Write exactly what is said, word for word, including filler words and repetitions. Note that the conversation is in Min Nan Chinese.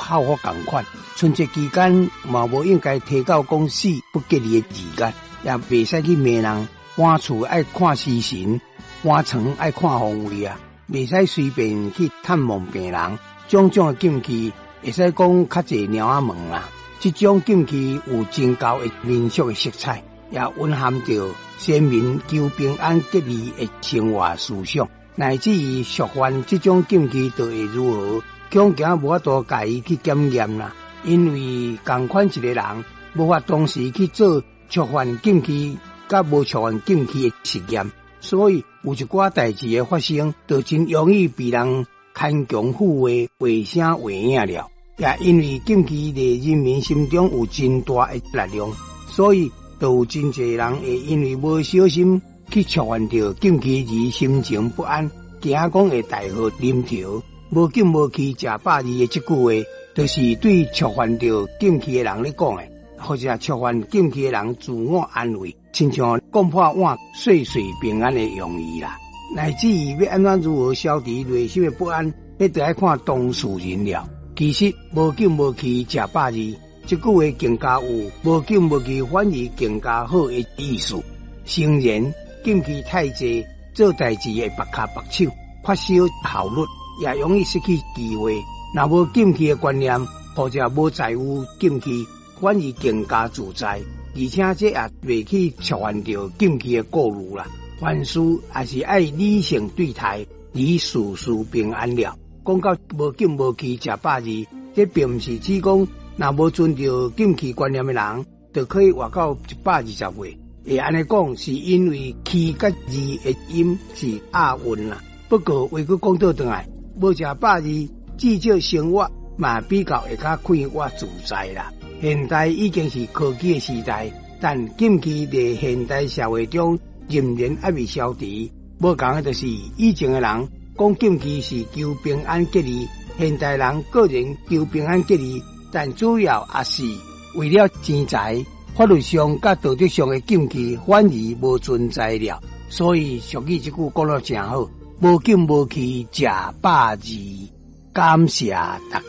孝福仝款。春節期間嘛無應該提到講死不吉利的字眼，也袂使去罵人。搬厝愛看時辰，搬床愛看方位啊，袂使隨便去探望病人。種種的禁忌，會使講較濟貓仔門啦。這種禁忌有真厚的民俗的色彩，也蘊含著先民求平安吉利的生活思想，乃至於觸犯這種禁忌，就會如何？恐驚無法度共伊去檢驗啦。因為仝款一個人無法同時去做觸犯禁忌佮無觸犯禁忌的實驗，所以有一寡代誌的發生，就真容易被人牽強附會畫聲畫影了。也因為禁忌佇人民心中有真大的力量，所以就有真濟人會因為無小心去觸犯著禁忌而心情不安，驚講會大禍臨頭。無禁無忌食百二的這句話，就是對觸犯著禁忌的人咧講的，或者觸犯禁忌的人自我安慰，親像講破碗歲歲平安的用意啦。乃至於欲按怎如何消除內心的不安，彼就愛看當事人了。其實無禁無忌食百二，這句話更加有無禁無忌反而更加好的意思。誠然，禁忌太濟，做代誌會縛跤縛手，缺少效率，也容易失去機會。若無禁忌的觀念，或者無在乎禁忌，反而更加自在，而且這也袂去觸犯著禁忌的顧慮啦。凡事也是愛理性對待，而事事平安了。講到無禁無忌食百二，這並毋是指講若無遵著禁忌觀念的人，就可以活到一百二十歲。會按呢講，是因為忌佮二的音是押韻啦。不過話閣講倒轉來，無食百二，至少生活嘛比較會較快活自在啦。現代已經是科技的時代，但禁忌佇現代社會中仍然猶未消除。無仝的就是以前的人講禁忌是求平安吉利，現代人固然求平安吉利，但主要也是為了錢財。法律上佮道德上的禁忌反而無存在了。所以俗語這句講得誠好，無禁無忌食百二。感謝大家。